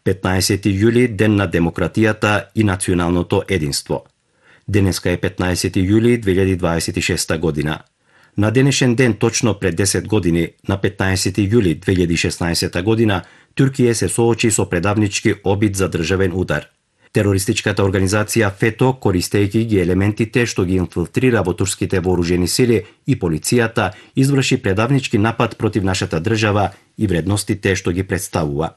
15 јули, ден на демократијата и националното единство. Денеска е 15 јули 2026 година. На денешен ден, точно пред 10 години, на 15 јули 2016 година, Туркија се соочи со предавнички обид за државен удар. Терористичката организација ФЕТО, користејќи ги елементите што ги инфилтрира во турските вооружени сили и полицијата, изврши предавнички напад против нашата држава и вредностите што ги представува.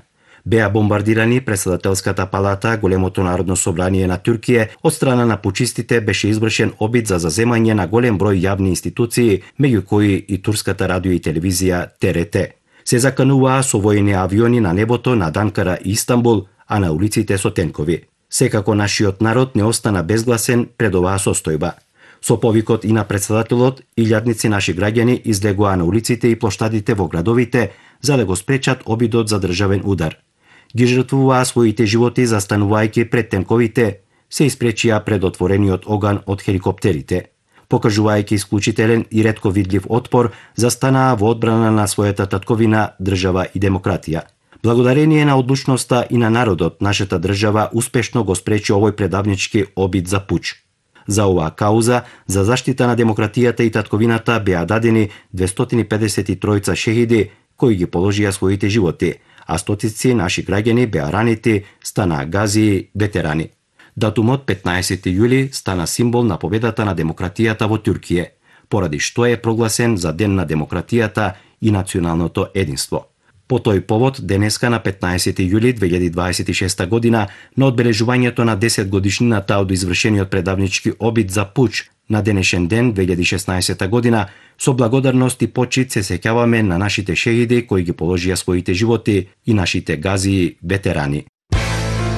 Беа бомбардирани Претседателската палата, големото народно собрание на Туркија, од страна на пучистите беше извршен обид за заземање на голем број јавни институции, меѓу кои и турската радио и телевизија ТРТ. Се закануваа со воени авиони на небото над Анкара и Истанбул, а на улиците со тенкови. Секако нашиот народ не остана безгласен пред оваа состојба. Со повикот и на председателот, илјадници наши граѓани излегоа на улиците и плоштадите во градовите за да го спречат обидот за државен удар. Ги жртвуваа своите животи застанувајќи пред тенковите, се испречија пред отворениот оган од хеликоптерите. Покажувајќи исклучителен и ретко видлив отпор, застанаа во одбрана на својата татковина, држава и демократија. Благодарение на одлучноста и на народот, нашата држава успешно го спречи овој предавнички обид за пуч. За оваа кауза, за заштита на демократијата и татковината беа дадени 253 шехиди кои ги положија своите животи, а стотици наши граѓани беа ранети, станаа газии, ветерани. Датумот 15 јули стана символ на победата на демократијата во Туркија, поради што е прогласен за Ден на демократијата и националното единство. По тој повод, денеска на 15 јули 2026 година, на одбележувањето на 10 годишнината од извршениот предавнички обид за пуч на денешен ден 2016 година, со благодарност и почит се сеќаваме на нашите шехиди кои ги положија своите животи и нашите газии ветерани.